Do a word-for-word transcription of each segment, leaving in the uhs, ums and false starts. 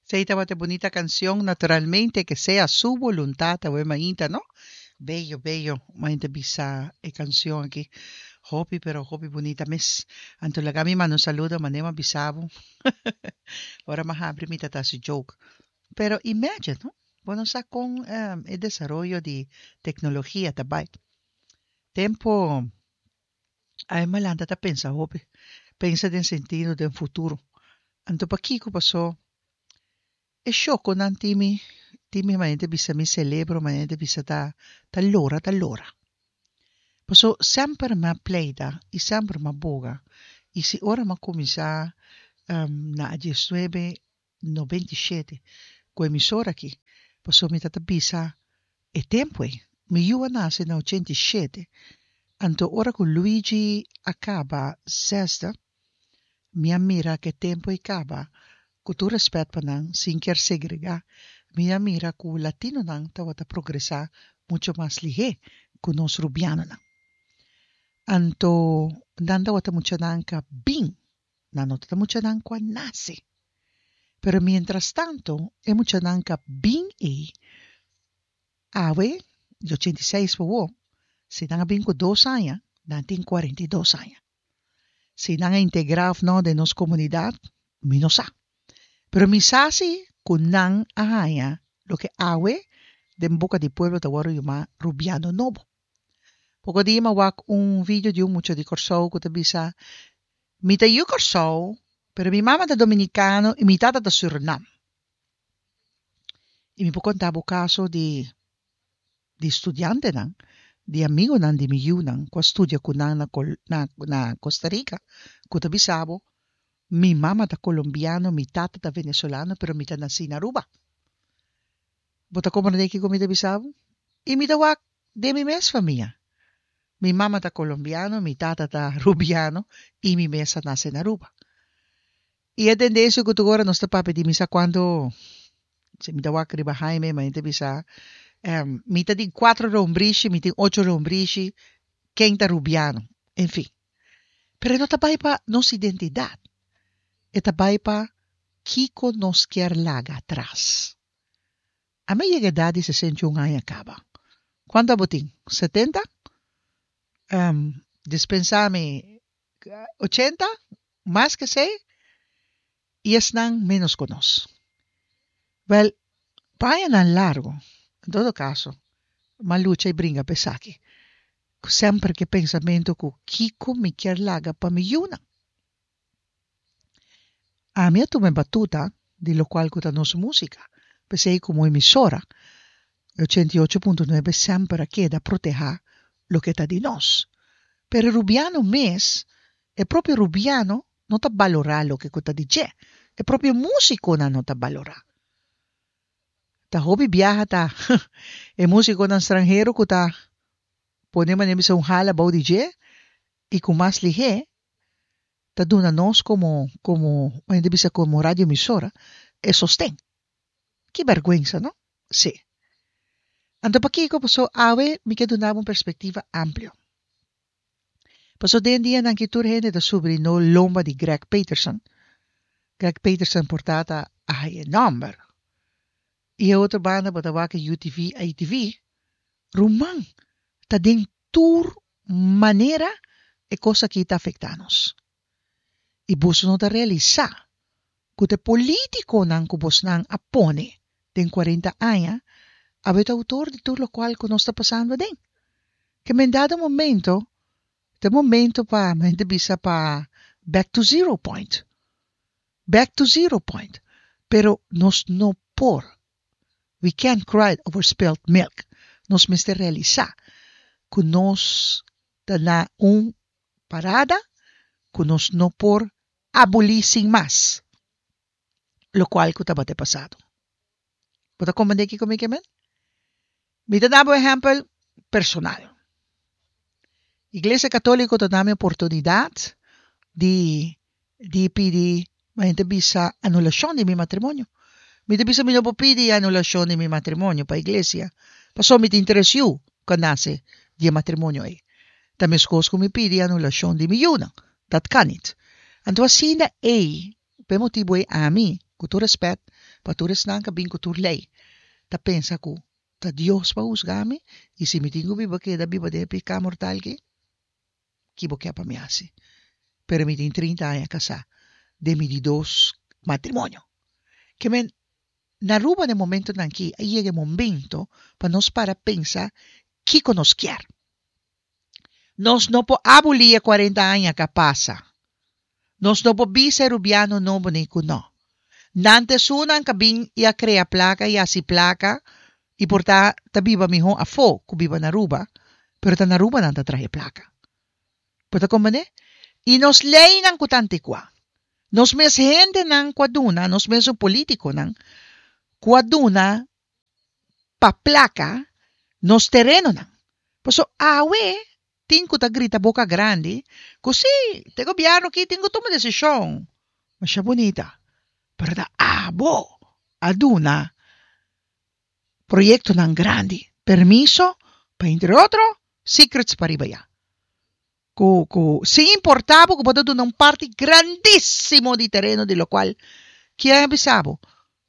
Esey tabata bunita cancion, naturalmente, "Que sea su voluntad", awe mainta, no? Bello, bello, mainta bisa e cancion aki. Hopi, pero hopi bunita mes. Anto laga mi manda un saludo, manera m'a bisa bo. Ora m'a habri mi ta hasi joke. Pero imagine, no? Bo no sa con um, e desaroyo di tecnologia tambe. Tempo, ay m'a lanta ta pensa hopi. Pensa den sentido di futuro. Anto pakico paso e shoco nan timi timi manente bisa mi celebro manente bisa ta ta lora ta lora. Paso semper m'a pleita y semper m'a boga. Y si ora m'a cuminsa um, na diesnuebe noventa y shete cu emisora aki. Paso mi tata bisa e tempo ei. Mi yiu a nace na ochenta y shete. Anto ora cu Luigi a caba zesde, mi a mira cu tempo a caba, cu tur respet pa nan, sin kier segrega, mi a mira cu latinonan tawata progresa mucho mas lihe cu nos rubianonan. Anto nan tawata muchanan cu a bin, nan no tawata muchanan cu a nace. Pero mientras tanto, e muchanan cu a bin e awe, di ochenta y seis pa, si nan a bin cu dos aña, nan tin cuarenta y dos aña. Si nan a integra of no den nos comunidad, mi no sa. Pero mi sa si cu nan a haya loke awe den boca di pueblo ta wordo yama rubiano nobo. Poco dia m'a wak un video di un mucha di Corsou cu ta bisa: "Mi ta yu Corsou, pero mi mama ta dominicano y mi tata ta Surinam." Y mi por conta bo caso di di studiantenan, di amigonan di mi yiunan, cu a studia cu nan na, na, na Costa Rica, cu ta bisa bo: "Mi mama ta colombiano, mi tata ta venezolano, pero mi ta naci na Aruba." Bo ta comprende kico mi ta bisa bo? Y mi ta wak den mi mes famia. Mi mama ta colombiano, mi tata ta rubiano y mi mes a nace na Aruba. Y e tendencia cu tur ora nos ta papia di mi sa cuando si mi ta wak riba Jaime, ma ta bisa um, mi ta di cuatro lombrishi, mi tin ocho lombrishi, ken ta rubiano, en fin. Pero no ta bay pa nos identidad. E ta bay pa kico nos kier laga atras. Ami a yega edad di sesenta y un aña caba. Cuanto bo tin? setenta? Um, dispensa mi, ochenta? Mas cu esey? Y esnan menos cu nos. Wel, pa añanan largo, en todo caso, m'a lucha y bringa pa esaki. Semper cu pensamento cu kico mi kier laga pa mi yiunan. Ami a tuma batuta di locual cu ta nos musica. Pesey como emisora, ochenta y ocho punto nuebe semper a keda proteha loke ta di nos. Pero rubiano mes, e propio rubiano no ta balora loke ta di dje. E propio musiconan no ta balora. Ta hopi biaha ta e musiconan stranhero cu ta pone manera bisa un hala bou di dje y cu mas lihe ta duna nos como como manera bisa como radio emisora e sosten. Ki berguensa, no? Si. Anto pakico paso awe mi kier duna un perspectiva amplio. Paso den dianan cu tur hende ta subi na lomba di Greg Peterson. Greg Peterson por ta a haya nomber. Y otro banda bo ta wak U T V, I T V. Ruman, ta den tur manera e cos aki ta afecta nos. Y boso no ta realisa cu e politiconan cu bosnan a pone den cuarenta aña awe ta autor di tur locual cu nos ta pasando aden. Kiermen dado momento, ta momento pa hende bisa pa back to zero point. Back to zero point. Pero nos no por. We can't cry over spilled milk. Nos mester realisa cu nos ta na un parada cu nos no por aboli sin mas locual cu tabata pasado. Bo ta comprende kico mi kiermen? Mi ta duna un ehempel personal. Iglesia Catolico ta duna mi oportunidad di di pidi ma hende bisa anulacion di mi matrimonio. Mi ta bisa mi no por pidi anulacion di mi matrimonio pa iglesia. Paso mi tin tres yiu cu a nace di matrimonio ey. Ta mescos cu mi pidi anulacion di mi yiunan. Dat kan niet. Anto asina ey, pa motibo ey ami, cu tur respet, Pa tur esnan ku a bin ku tur lei, ta pensa ku ta Dios pa husga mi, i si mi tin ku biba keda biba den e piká mortal aki, ki bo ke pa mi hasi? Pero mi tin trinta aña kasá, den mi di dos matrimonio. Ke men, na Aruba den momentonan aki a yega e momento pa nos para pensa kiko nos kier. Nos no por abolí e kuarenta aña ku a pasa. Nos no por bisa e rubiano nobo ni ku no. Nan ta esunnan ku a bin i a krea plaka i hasi plaka i por ta ta biba mihó afó ku biba na Aruba, pero ta na Aruba nan ta traha e plaka. Bo ta komprendé? I nos leinan ku ta antikuá. Nos mes hendenan ku a duna, nos mesun polítikonan ku a duna pa plaka nos terenonan. Paso awe tin ku ta grita boka grandi ku si, te gobièrnu aki tin ku tuma desishon. Masha bunita. Pero ta abo a duna proyektonan grandi permiso pa entre otro Secrets pariba ya. Ku ku sin importá bo ku bo ta duna un parti grandísimo di tereno di lokual kier a bisa bo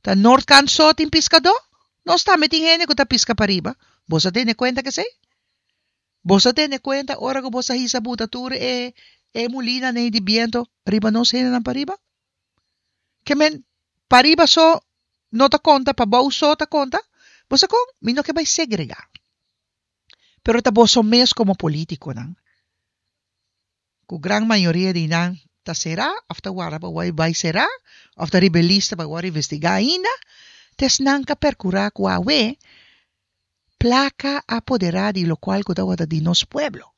ta Noordkant so tin piskadó? Nos tambe tin hende ku ta piska pariba. Bo sa tene kuenta kesei? Bo sa tene kuenta ora ku bo sa hisa buta tur e e mulina nei di biento riba nos hendenan pariba? Ke men pariba so no ta konta, pabou so ta konta? Bo sa kon? Mi no ke bai segregá. Pero ta boso mes komo polítikonan, ku gran mayoria di nan ta será òf ta warda pa wòrdu bai será òf ta riba e lista pa wòrdu investigá ainda, ta esnan ka perkurá ku awe plaka a poderá di lokual ku tabata di nos pueblo.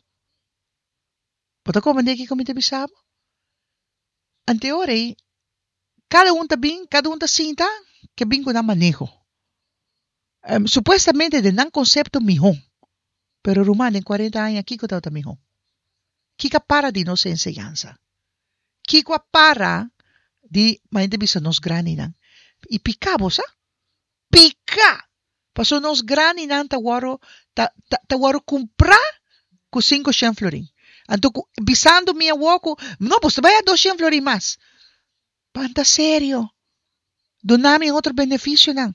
Bo ta komprendé kiko mi ta bisa bo? Anteor ei, kada un ta bin, kada un ta sinta ke bin ku nan maneho. Supuestamente den nan konsepto mihó. Pero ruman, den kuarenta aña kiko tabata mihó? Kiko a para di nos enseñansa? Kiko a para di, manera ta bisa nos grandinan? I piká bo sa? Piká! Pasobra nos grandinan ta wòrdu ta ta ta wòrdu kumprá ku sinku shen florin. Anto ku bisando mi awor ku no bo ta bai a dos shen florin mas. Banta serio. Duna mi otro benefisionan.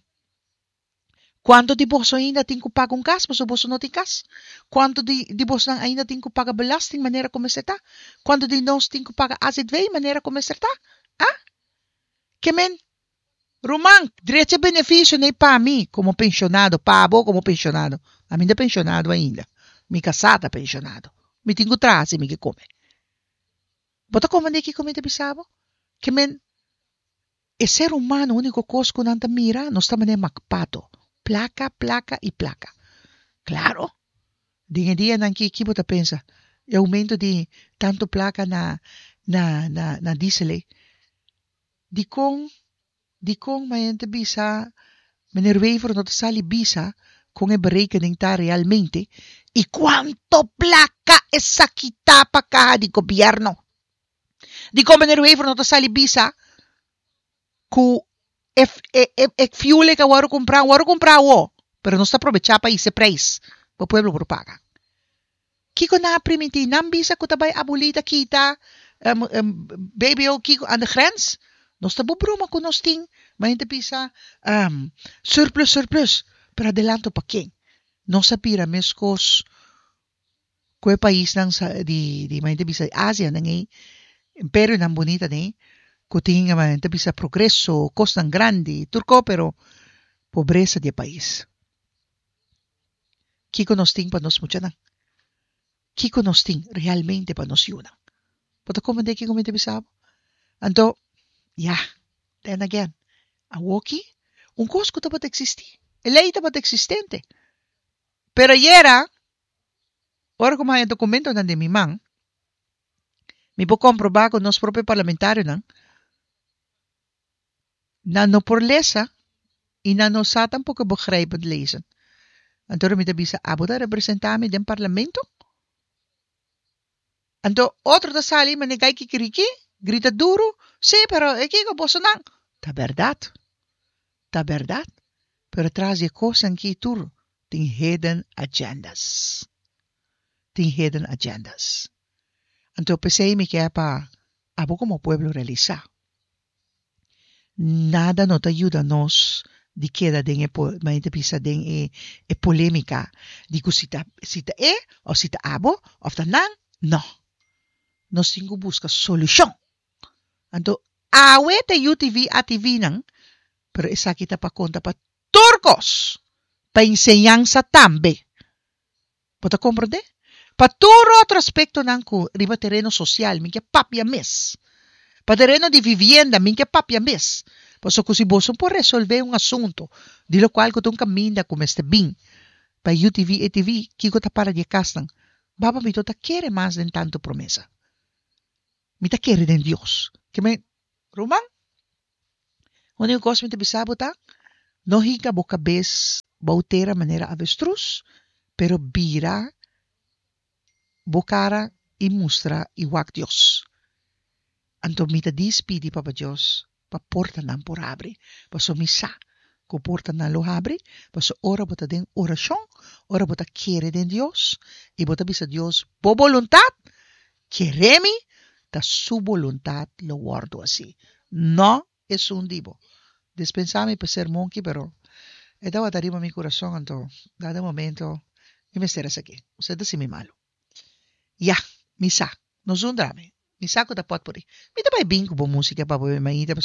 Kuantu di boso ainda tin ku paga un kas pasobra boso no tin kas? Kuantu di di bosnan ainda tin ku paga belasting manera ku mester ta? Kuantu di nos tin ku paga A Z V manera ku mester ta? Ah? Ke men, ruman, drecha e benefisio nei pa mi komo penshonado, pa bo komo penshonado. Ami no ta penshonado ainda. Mi kasá ta penshonado. Mi tin ku traha si mi ke kome. Bo ta komprendé kiko mi ta bisa bo? Ke men, E ser humano úniko kos ku nan ta mira nos ta manera makpato, plaka, plaka i plaka. Klaro, den e dianan aki ki bo ta pensa? E oumento di tantu plaka na na na na diesel ei. Dikon dikon mayen ta bisa meneer Wever no ta sali bisa kon e berekening ta realmente i kuanto plaka esaki ta pa kaha di gobièrnu? Dikon meneer Wever no ta sali bisa ku e e e e fuel e ka wòrdu kumprá, wòrdu kumprá awor, pero nos ta probechá pa hisa e preis pa pueblo por paga. Kiko nan a primintí? Nan bisa ku ta bai abolí ta kita B B O kiko aan de grens? Nos ta bo broma ku nos tin, ma hende bisa surplus surplus, pero adelanto pa ken? Nos a bira meskos ku e paisnan di di manera ta bisa Asia nan ei, imperionan bunita nan ei, ku tin manera ta bisa progreso, kosnan grandi, tur ko pero pobresa di e pais. Kiko nos tin pa nos muchanan? Kiko nos tin realmente pa nos yunan? Bo ta komprende kiko mi ta bisa bo? Anto, ya, then again, awoki un kos ku tabata eksistí, e lei tabata eksistente, pero ayera, ora ku mi haña dokumentonan den mi man, mi por komprobá ku nos propio parlamentarionan nan no por lesa i nan no sa tampoko begrijpend lezen. Anto mi ta bisa, abo ta representá mi den parlamento? Anto otro ta sali manera gai kikiriki, grita duru, sí, pero e kiko bosonan? Ta bèrdat, ta bèrdat, pero tras di e kosnan aki tur tin hidden agendas. Tin hidden agendas. Anto p'esei mi ke pa abo komo pueblo realisá. Nada no ta yuda nos di keda den e manera bisa den e, e polémika di ku si ta, si ta e òf si ta abo òf ta nan. No. Nos tin ku buska solushon. Anto, awe ta U T V, A T V nan, pero esaki ta pa konta pa tur kos. Pa enseñansa tambe. Bo ta komprondé? Pa tur otro aspektonan ku riba tereno sosial, mi ke papia mes. Pa tereno di vivienda, mi ke papia mes. Paso ku si bo por resolvé un asuntu, di lokual ku ta un kaminda ku mester bin, pa U T V, A T V, kiko ta para di kasnan. Baba, mi no ta kere mas den tantu promesa. Mi ta kere den Dios. Ke men, ruman? Úniko kos mi ta bisa bo ta, no hinka bo kabes bou tera manera avestruz, pero bira bo kara i mustra i wak Dios. Anto mi ta pidi Papa Dios pa portanan por habri. Paso mi sa ku portanan lo habri, paso ora bo ta den orashon, ora bo ta kere den Dios, i bo ta bisa Dios, bo boluntat, kere mi, ta su boluntat lo wòrdu hasí. No esun di bo. Dispensá mi pa e sermon aki, pero e tabata riba mi kurason, anto, dado momento, mi mester esaki. Bo ta mi malu. Ya, mi sa, no zundra mi. Mi sa ku ta pot por. Mi ta bai bin ku bo músika pa bo mainta.